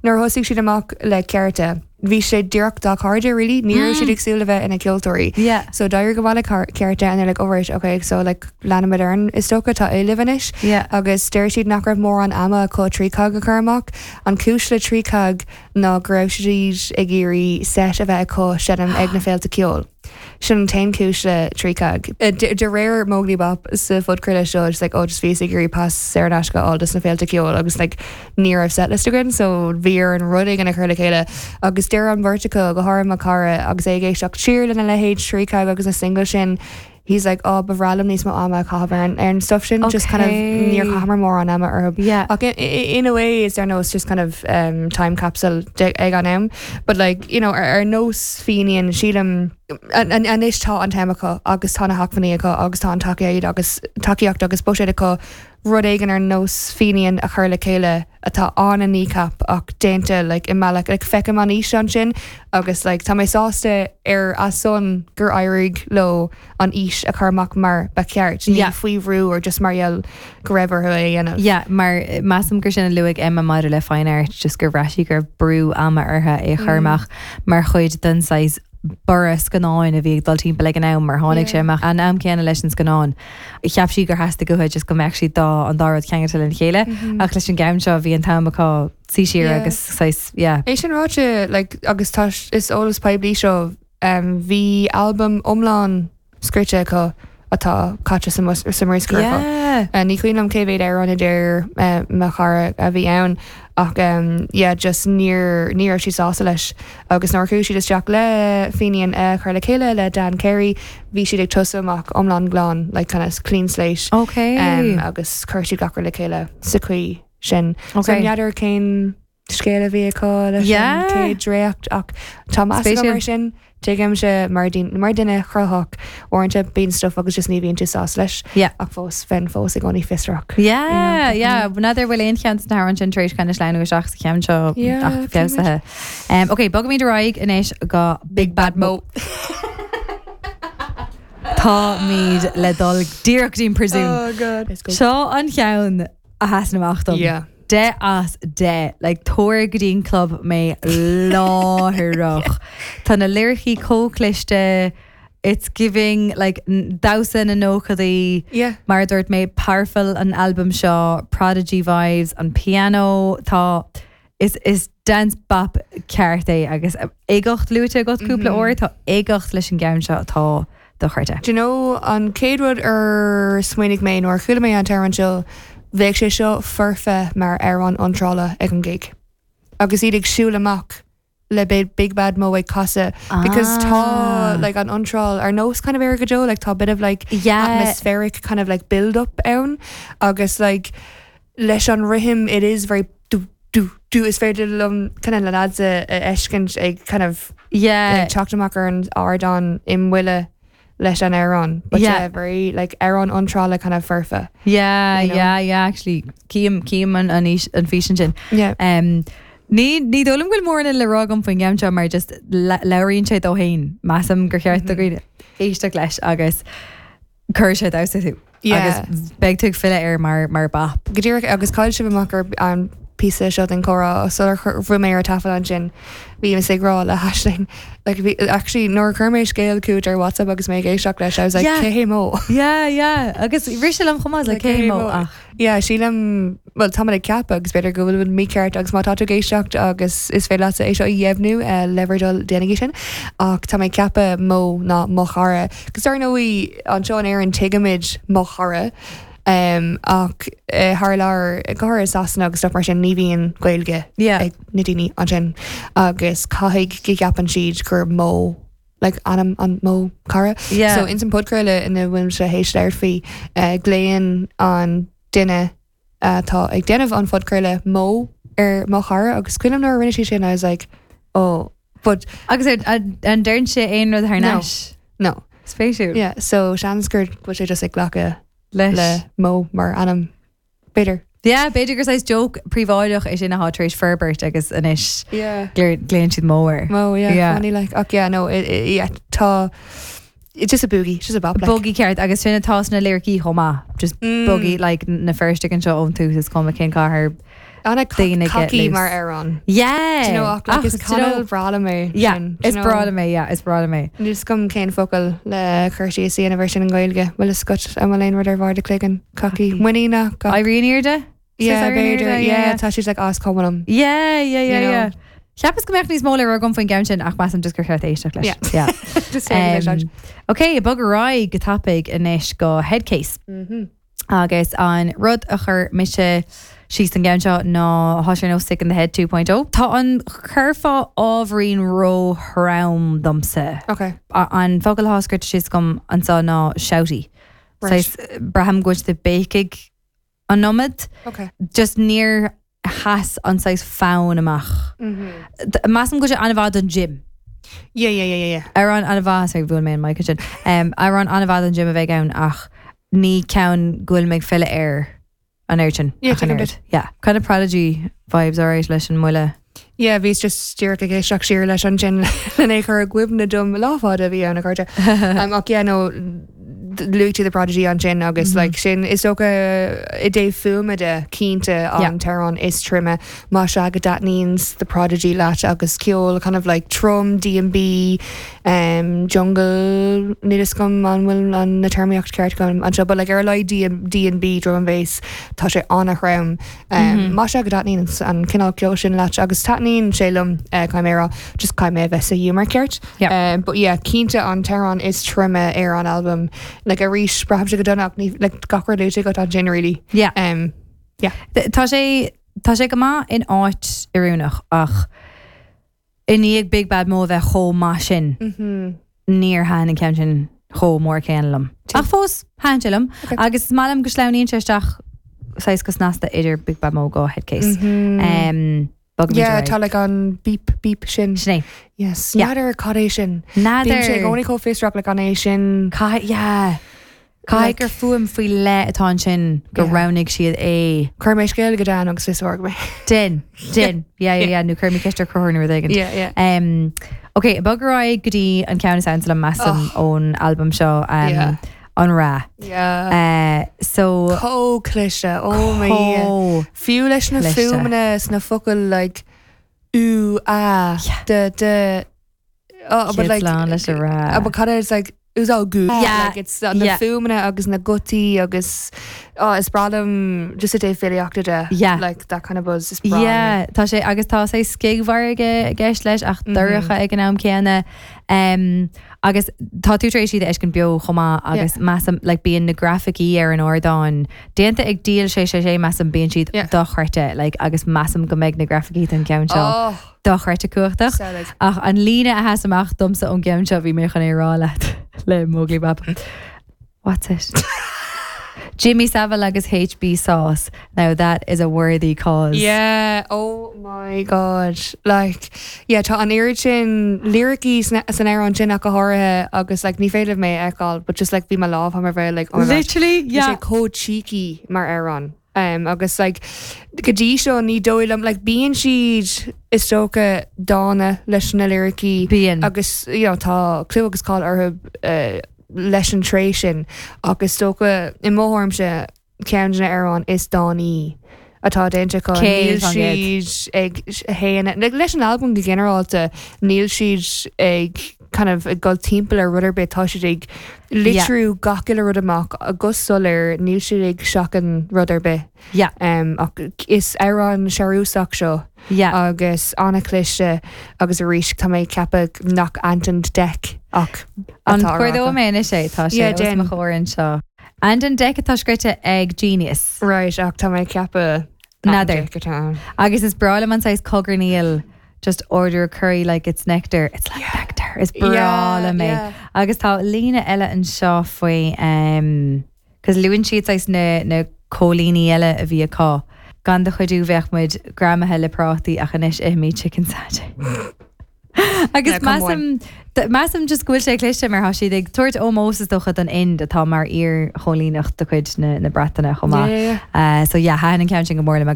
Nuair a thosaigh siad amach le Cearta, bhí sé díreach dá cairde really, ní raibh siad ag súil le bheith ina gceoltóirí. Yeah. So d'éirigh go maith le Cearta and they're like, oh right, okay, so like leanfaimid orainn is dócha, tá éileamh anois. Yeah. Agus deir siad nach raibh mórán ama acu Trícag a chur amach. An cúis le Trícag ná go raibh siad ag iarraidh set a bheith acu seinm ag na féilte ceoil. Sin an t-aon chúis le Trícag. De réir Móglaí Bap sa phodchraoladh seo, just like, oh, just bhíos ag iarraidh pas saor in aisce a fháil dos na féilte ceoil agus like ní raibh setlist againn so bhí orainn rud éigin a chur le chéile agus deir an bheirt acu, go háirithe mo chara, agus é ag éisteacht siar lena leithéid Trícag agus na singles sin, he's like, oh, ba bhreá liom níos mó ama a chaitheamh ar an, ar an stuff sin, just kind of níor chaitheamar mórán ama orthu. Yeah. Ach in a way is ar nós just kind of um, time capsule de, ag an am. But like, you know, ar, ar nós Fenian, sílim, anois tá an t-am acu agus tá na hacmhainní acu agus tá an tacaíocht agus tacaíocht agus buiséad acu rud éigin ar nós Fenian a chur le chéile atá an-Kneecap ach déanta like i mbealach like feicim an fhís ansin agus like tá mé sásta ar a son gur éirigh leo an fhís a chur amach mar ba cheart, ní Yeah. faoi bhrú or just mar gheall go raibh orthu é a dhéanamh. Yeah, mar measaim gur sin a luaigh Emma maidir le Fine Art, just gur bhraith sí go raibh brú ama orthu é a chur amach mar chuid den saghas borradh scannáin a bhí ag dul timpeall ag an am mar tháinig sé amach an am céanna leis an scannán. Cheap sí gur theastaigh uathu just go mbeadh siad dá, an dá rud ceangailte lena chéile ach leis an gceann seo bhí an t-am acu suí siar Yeah. agus saghas, yeah. É sin ráite, like, agus tá, is eolas poiblí seo, um, bhí albam iomlán scrite acu atá caite sa sa mbruscar acu. Yeah. Uh, ní cuimhin liom cé mhéad amhrán a deir uh, mo chara a bhí ann ach um, yeah, just níor, ní raibh siad sásta leis. Agus nuair a chuaigh siad isteach le Fenian a chur le chéile le Dan Carey, bhí siad ag tosú amach iomlán glan, like kind of clean slate. Ok. Um, agus chuir siad gach rud le chéile sa chaoi sin. Ok. So n'fheadar cén scéal a bhí acu leis Yeah. an chéad dréacht ach tá meas agam Spéisiúil. ar sin. Tuigimse mar mar duine cruthaitheach uaireanta bíonn stuff agus just ní bhíonn tú sásta leis Yeah. ach fós bheinn fós i gcónaí fiosrach. Yeah, yeah. N'fheadar bhfuil aon cheann de na hamhráin sin tar éis kind of sleamhnú isteach sa cheann seo Yeah, ach feabhsaithe. Um, ok, bogaimid ar aghaidh anois go Big Bad Mo. Táimid le dul díreach dtí'n príosún. Oh God. Let's go. Seo an cheann a sheasann amach dom. Yeah. 10 as 10. Like, tabhair go dtí an club mé láithreach. Tá na liricí chomh cliste, it's giving like damhsa na nóchaidí. Yeah. Mar a dúirt mé, powerful an albam seo, Prodigy vibes, an piano, tá, is, is dance bop ceart é agus uigeacht luaite agat cúpla uair, tá uigeacht leis an gceann seo atá dochreidte. Do you know, an chéad rud ar smaoinigh mé nuair a chuala mé an t-amhrán seo, bheadh sé seo foirfe mar amhrán iontrála ag an gig. Agus iad ag siúl amach le Big Bad Mo ag casadh because tá like an iontráil ar nós kind of Éire Go Deo, like tá bit of like Yeah. atmospheric kind of like build up ann agus like leis an rithim it is very do do do is féidir liom kind of na lads a a fheiscint ag kind of Yeah. ag teacht amach ar an ardán i mbuille leis an amhrán but Yeah. yeah very like amhrán iontrála kind of foirfe. Yeah, You know? yeah, yeah, actually cím cím an an fhís an físean sin. Yeah. Um, ní ní dóigh liom go bhfuil mórán le rá agam faoin gceann seo mar just le- labhraíonn sé dó féin. Measaim gur cheart do dhaoine éisteacht leis agus cuirfidh sé ag damhsa thú. Yeah. Agus beidh tú ag filleadh air mar mar bap. Go díreach agus chaill sibh amach ar an píosa seo den chomhrá sular bhí mé ar taifead ansin bhí mise ag rá le hAisling like bhí actually nuair a chuir mé scéal chugat ar WhatsApp agus mé ag éisteacht leis I was like Yeah. cé hé Mo? Yeah, yeah. Agus rith sé liom chomh maith like cé hé Mo ach Yeah, sílim, bhuel, tá mé ag ceapadh agus b'fhéidir go bhfuil mícheart agus má tá tú ag éisteacht agus is féidir leatsa é seo a dheimhniú le bhur dtoil déanaigí sin ach tá mé ag ceapadh Mo ná mo chara. Agus dar ndóigh anseo in Éirinn tuigimid mo chara ach thar lear, go háirithe i Sasana agus stuff mar sin ní bhíonn Gaeilge ag na daoine ansin agus caithfidh go gceapann siad gur Mo like ainm an mo chara. Yeah. So ins an podchraoladh ina bhfuilimse théis labhairt faoi, eh, glaonn an duine atá ag déanamh an phodchraoladh Mo ar mo chara agus cuimhin liom nuair a rinne sí sin I was like oh but Agus ar, an, an deireann sé aon rud thar No. n-ais? no. Spéisiúil. Yeah, so seans gur bhfuil sé just ag glacadh Leis. le Mo mar ainm. B'fhéidir. Yeah, b'fhéidir gur saghas joke príobháideach é sin atá tar éis forbairt agus anois Yeah. glaonn siad Mo air. Mo, yeah, Yeah. funny like. Ach yeah, no, it, it, yeah, tá, it's just a boogie, it's just a bop like. Boogie ceart agus sin atá sna liricí chomh maith. Just Mm. boogie like na Feirsteach anseo ón tús is cuma cén cathair. Daoine get Cocky loose. mar amhrán. Yeah! Do you know, ach, like, is Ach, do you know- cineál breá liom é Yeah, sin, do is you know? breá liom é, yeah, is breá liom é. Níl 'fhios agam cén focal le cur síos a dhéanamh air sin i nGaeilge. Bhfuil fhios agat an bhfuil aon rud ar bharr do chloigeann? Cocky. Muiníneach. Éiríonn airde? Yeah, Says éiríonn b'fhéidir. airde, Yeah, tá siad like as cuma liom. Yeah, yeah, yeah, You know? yeah. Cheapas go mbeadh níos mó le rá agam faoin gceann sin ach measaim just gur cheart éisteacht leis. Yeah. Yeah. Just say um, Ok, bog ar aghaidh go tapaidh anois go Headcase. Mm -hmm. Agus an rud a chuir mise síos don gceann seo ná tá sé ar nós Sick in the Head 2.0. Tá an curfá ábhairín ró-throm domsa. Ok. An focal atá scríte síos agam anseo ná shouty. Right. Saghas, braithim go bhfuil siad ag béicigh an iomad. Ok. Just níor sheas an saghas fonn amach. Measaim go bhfuil sé an-mhaith don gym. Yeah, yeah, yeah, yeah, yeah. Amhrán an-mhaith, sorry, bhuail mé an mic ansin. Um, amhrán an-mhaith don gym a bheidh ann ach ní ceann go bhfuil mé ag filleadh air an oiread sin. Yeah, ach an tuigim oiread. duit. Yeah. Kind of Prodigy vibes alright leis an mbuille. Yeah, bhíos just díreach ag éisteacht siar leis ansin lena chur i gcuimhne dom lá fada a bhí ann a chairde. Um, ach yeah, no, luaigh tú The Prodigy ansin agus like sin is dócha i dtaobh fuaime de cinnte an t-amhrán is troime más ea go dtaitníonns The Prodigy leat agus ceol kind of like trom D&B um, jungle níl fhios agam an bhfuil an na téarmaíocht ceart agam anseo but like ar a laghad D D&B drum and bass tá sé an-throm um, más ea go dtaitníonn an cineál ceoil sin leat agus taitníonn sé liom uh, caithfidh mé a rá just caithfidh mé a bheith sa ghiúmar ceart. Yeah. Um, but yeah, cinnte an t-amhrán is troime ar an albam like arís braithimse go dona ach ní like gach rud luaite agat ansin really. Yeah. Um, yeah. Tá sé tá sé go maith in áit oiriúnach ach i ndiaidh Big Bad Mo a bheith chomh maith sin, níor thaitin an ceann sin chomh mór céanna liom. Ach fós, thaitin sé liom. Agus is maith liom go sleamhnaíonn sé isteach saghas go snasta idir Big Bad Mo go Headcase. Um, Bogfaimid Yeah, ar aghaidh. tá like an beep beep sin. Sin é. Yes. Yeah. N'fheadar cad é sin. N'fheadar. Bíonn sé i gcónaí chomh fiosrach like an é sin. Caithfidh, yeah. Caithfidh gur fuaim faoi leith atá ansin gur roghnaigh siad é. Cuirfidh mé scéal go Dan agus fiosróidh mé. Déan, déan, yeah, yeah, yeah, nó cuirfidh mé ceist ar Conchúr nó rud éigin. Yeah, yeah. Um, ok, bog ar aghaidh go dtí an ceann is ansa liom measaim ón albam seo, um, Yeah. An Ra. Yeah. Uh, so, Chomh cliste, oh my Dhia. Chomh Fiú leis na cliste. fuaimeanna sna focail like ú, a, d, d, Oh, but like, lán leis an Ra. Uh, but cad is like it all good. Yeah. Like it's na Yeah. fuaimeanna agus na gutaí agus oh, is breá liom just i dtaobh filíochta de. Yeah. Like that kind of buzz is breá liom. Yeah, tá sé agus tá sé scigmhairg i gceist leis ach dorcha ag an am céanna. Um, agus tá tú tar éis iad a fheiscint beo chomh maith agus measaim like, bíonn na grafaicí ar an ardán déanta ag Díol 666 measaim bíonn siad Yeah. dochreidte like, agus measaim go mbeidh na grafaicí don cheann seo Oh, dochreidte cumhachtach. Samhlaigh. Ach an líne a sheas amach domsa ón gceann seo bhí mé chun é a rá leat le Móglaí Bab. What's it? Jimmy Savile agus HB Sauce. Now that is a worthy cause. Yeah, oh my god. Like, yeah, tá an oiread sin liricí san amhrán sin ach go háirithe agus like ní féidir mé a fheiceáil, but just like bhí mo lámh thar mo bhéal like oh my god. Literally, Bhí yeah. sé chomh cheeky mar amhrán. Um, agus like go dtí seo ní dóigh liom like bíonn siad is dócha dána leis na liricí Bíonn. agus you know, tá clú agus cáil orthu uh, leis an tréith sin ach is dócha i mo thuairimse ceann de na hamhráin is dánaí atá déanta acu. Níl 100%. siad ag shéanadh like, leis an albam go ginearálta níl siad ag kind of ag dul timpeall ar rud ar bith tá siad ag litriú gach uile rud amach go soiléir níl siad ag seachaint rud ar bith. Yeah. Um, ach is amhrán searúsach seo Yeah. agus an-chliste agus arís tá mé ag ceapadh nach Ant and Dec ach An atá á rá cuardóidh agam. mé anois é tá sé Yeah, os déan. mo chomhair anseo. Ant and Dec atá scríte ag Genius. Right, ach tá mé ag ceapadh Ant and N'fheadar. Dec atá ann. Agus is breá liom an saghas cogarnaíl just order a curry like it's nectar. It's like nectar. Is breá Yeah, liom é. yeah. Agus tá líne eile anseo faoi um, cos luann siad saghas na, na cóilíní eile a bhí acu. Gan do chuidiú bheadh muid greamaithe le prátaí ach anois ithimid chicken satay. Agus Yeah, come on. measaim measaim just go bhfuil sé cliste mar tá siad ag tabhairt ómós is dócha don Ind atá mar iar-choilíneacht de chuid na, na Breataine chomh maith. Yeah, yeah, Uh, so yeah, thaitin an ceann sin go mór liom.